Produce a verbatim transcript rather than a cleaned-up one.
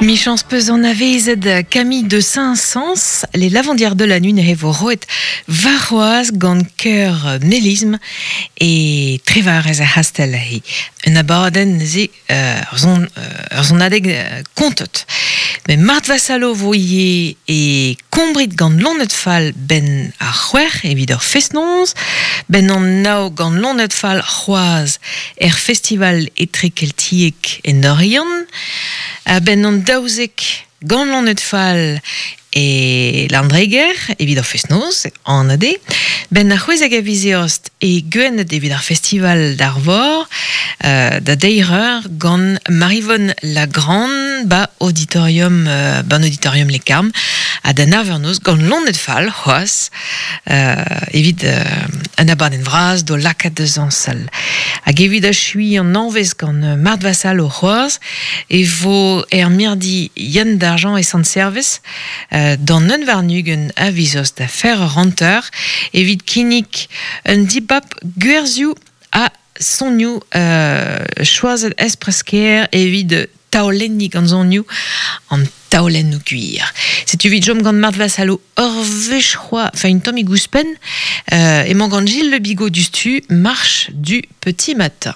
Michans peus an avezet Camille de Saint-Saëns, les lavandières de la nuit ne vo roet varroaz gant keur melisme e trevar ez a hastel he. Un abadenn ze euh, ur zon, euh, ur zon adeg euh, kontot. Me Mart Vassalo vo ie e kombrit gant lonet fall ben ar c'hwec'h evit ur fest-noz, ben an nao gant lonet fall c'hoaz er festival etrekeltiek en Oriant, a ben an daouzek gant lonet fall e Landreger evit ar fest-noz, an ade, ben ar c'hwezek a vizeost e gwennet evit ar festival d'Arvor, euh, da deireur gant Marivonne Lagrande ba auditorium, euh, ban auditorium Les Carmes, a da navernoz gant lonet fall c'hoaz, euh, evit euh, an abadenn vraz do lakaat deus an sal. Hag evit a chui an anvez gant euh, Mart Vassal o c'hoaz, e vo er mirdi Yann d'Argent e Sant Servez, euh, d'an un varnugen a vizoz da fer ranteur, evit kinnik un dibap gwerzioù a sonioù euh, choazet espresker evit taolenni gant sonioù an taolennoù gwir. Setu evit jom gant Mart Vassalo ur wech c'hoa, enfin une tammig ouzhpenn, euh, emañ gant Gilles Le Bigot du Stu, marche du petit matin.